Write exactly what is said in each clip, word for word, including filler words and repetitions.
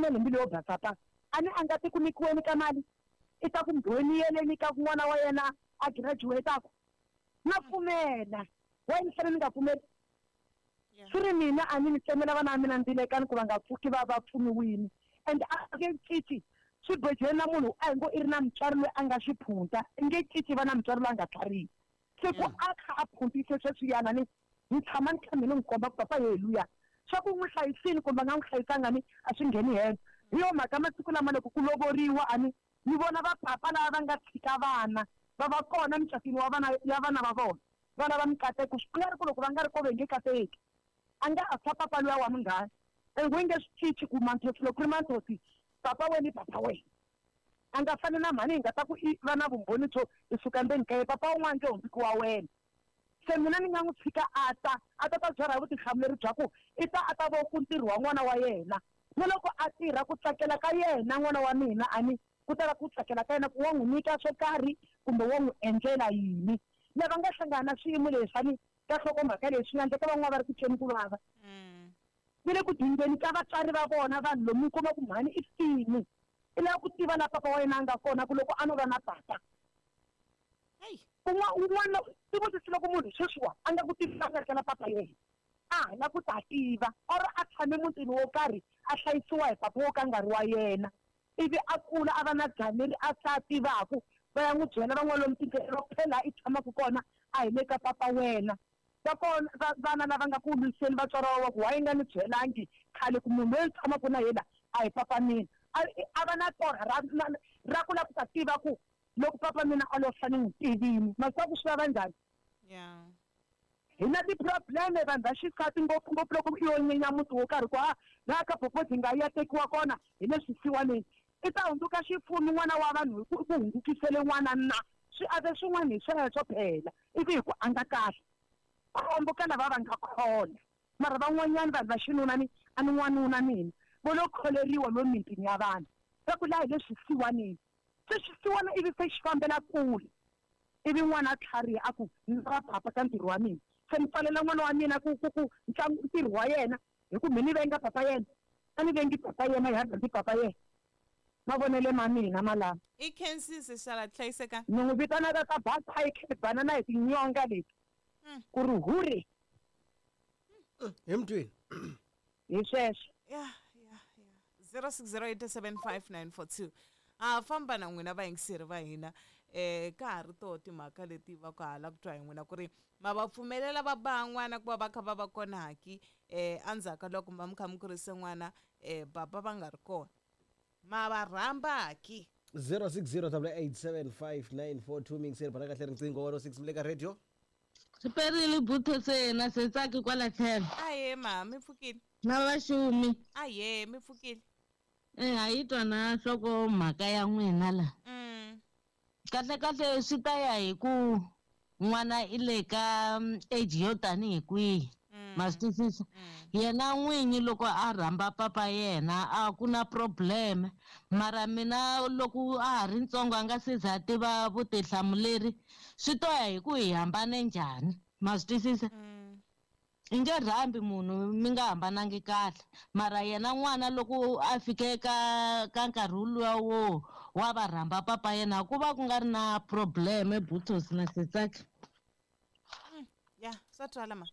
pfumeli mbilu yo basa pa a ni a nga ti ku nyikiweni ka mali i ta ku mbhoniyeleni ka n'wana wa yena a graduate-aku na pfumela wa ni fanele ni nga pfumeli swi ri mina a ni ni tsemela vana va mina ndzilekani ku va nga pfuki va va pfuniwini and a nge cinci swi bojeni na munhu a hi ngo i ri na mutswari loyi a nga xiphunta i nge cinci va na mutswari loyi a nga tlharihi se ku a kha a phuntise sweswiyana ni ni tshama ni kha mina n'wi komba ku papa ye luya swa ku n'wi hlayisini kumbe a nga n'wi hlayisanga ni a swi ngheni helo hi yo mhaka masiku lama loko ku lovoriwa a ni ni vona vapapa lava va nga tshika vana va va kona mucatwini wa vana ya vana va vona va lava mikateko swi nga ri ku loko va nga ri ko ve nge kateki a nga a fa papa luya wa munghana and we nge swi cinci ku manthosi loko ku ri manthosi papa wena i papa wena a nga fani na mhani hi nga ta ku i va na vumbhoni byo i suka ndzeni ka ye papa wun'wana nge hundziki wa wena se mina ni nga n'wi tshika a ta a ta ta byarha vutihlamuleri bya ku i ta a ta vo ku ntirho wa n'wana wa yena na loko a tirha ku tsakela ka yena n'wana wa mina a ni ku ta va ku tsakela ka yena ku wa n'wi nyika swo karhi kumbe wa n'wi endlela yini lava nga hlangana na swiyimo leswi ka nhlokomhaka leyi swi nga endleka van'wana va ri ku tweni ku vava ni le ku dingeni ka vatswari va vona vanhu lomu kuma ku mhani i fini i lava ku tiva la papa wa yena a nga kona ku loko a no va na papa un'wana un'wana i vutisi loko munhu sweswiwa a nga ku tivi a nga ri na papa yena a ha la ku ta tiva or a tshame mutini wo karhi a hlayisiwa hi papa wo ka nga ri wa yena ivi a kula a va na dzana leri a sa tivaku va ya n'wi byela van'wana lomu tindlela va ku phela laha i tshamaka kona a hi le ka papa wena va kona vana lava nga ku lwiseni vatswari va ku wa yi nga ni byelangi khale ku munhu loyi tshamaka na yena a hi papa mina a va na torha ra ra ku lava ku ta tiva ku loko papa mina a lo fa ni n'wi tivini masiku ku swi vava njhani hi na ti-problem vanhu va xisati ngopfungopfu loko i yo nyenya muti wo karhi ku a laha ka popozi nga ya tekiwa kona hi le swisiwaneni i ta hundzuka xifumi n'wana wa vanhu hi ku ku hundzukisele n'wana na swi ave swin'wana hi sweswo phela ivi hi ku a nga kahle khombo ka lava va nga khola mara van'wanyana vanhu va xinuna ni a ni n'wanuna mina vo lo kholeriwa lo mitini ya vanhu va ku laha hi le swisiwaneni se xisiwana ivi se xi fambela kule ivi n'wana a tlhariha a ku ni va papa ka ntirho wa mina se ni pfalela n'wana wa mina ku ku ku ntlangu ntirho wa yena hi ku mi ni venga papa yena a ni vengi papa yena hi rhandzi papa yena mavonele ma mina malama i khensisi xala hlayiseka ni n'wi vitana ta basa i banana hi tinyonga leti ku ri huri hi mutwini hi sweswo ya ya ya zero six zero eight seven five nine four two a famba na n'wina vayingiseri va hina eh ka ha ri toho timhaka leti va ku hala ku twa hi n'wina ku ri ma va pfumelela va ba n'wana ku va va kha va va kona haki eh endzhaku ka loko va mi kha mi kurise n'wana eh baba va nga ri kona ma va rhamba haki zero six zero eight seven five nine four two miyingiseri bana kahle riqingho one oh six mi le ka radio swi perile butho se na se tsaki kwala tlhelo aye ma mi pfukile na vaxumi aye mi pfukile eh a yi twa na nhloko mhaka ya n'wina la mm. kahle kahle swi ta ya hi ku n'wana i le ka age yo tanihi kwihi ma swi twisisa yena n'winyi loko a rhamba papa yena a ku na problem mara mina loko a ha ri ntsongo a nga se za tiva vutihlamuleri swi to ya hi ku hi hambane njhani ma swi twisisa i nge rhambi munhu mi nga hambanangi kahle mara yena n'wana loko a fike ka ka nkarhi wuluwa wo wa va rhamba papa yena ku va ku nga ri na problem butos na setsaki ya swa twala ma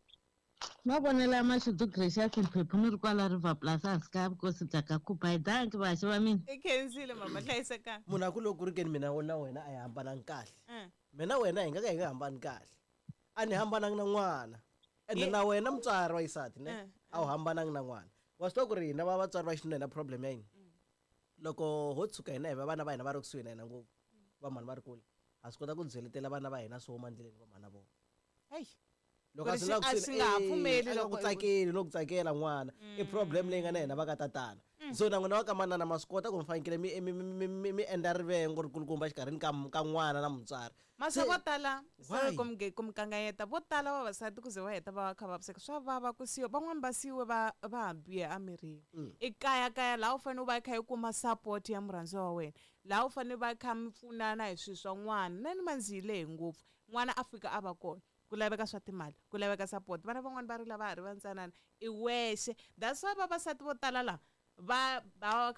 mavonelo ya Mashudu Gracious Mphephu ni ri kwala River Plus hansi ka vukosi bya ka Khupa hi danki vaxi va mina i khensile mama hlayiseka munhu a ku loko ku ri keni mina na wena a hi hambanangi kahle mina wena hi nga ka hi nga hambani kahle a ni hambanangi na n'wana ende na wena mutswari wa xisati ne a wu hambanangi na n'wana wa swi tiva ku ri hina va vatswari va xinuna hi na problem ya yini loko ho tshuka hina hi va vana va hina va ri kusuhi na hina ngopfu va mhani va ri kule ha swi kota ku byeletela vana va hina swo huma endleleni va mhana vona heyi loko a swi a swi nga ha pfumeli loko ku tsakeli no ku tsakela n'wana i problem leyi nga na hina va ka tatana so na n'wina va ka manana ma swi kota ku mi fanekele mi mi mi mi mi endla rivengo rikulukumba exikarhini ka ka n'wana na mutswari mase vo tala sorry ku mi ku mi kanganyeta vo tala vavasati ku ze va heta va kha vaviseka swa vava ku siyiwa van'wani va siyiwe va va hambiwe emirini i kaya kaya laha u fanele u va i kha i kuma support ya murhandziwa wa wena laha u fanele va kha mi pfunana hi swilo swa n'wana na ni manzi yi lehe ngopfu n'wana a fika a va kona ku laveka swa timali ku laveka support vana van'wani va ri lava ha ri vantsanana i wexe that's why vavasati vo tala laha va va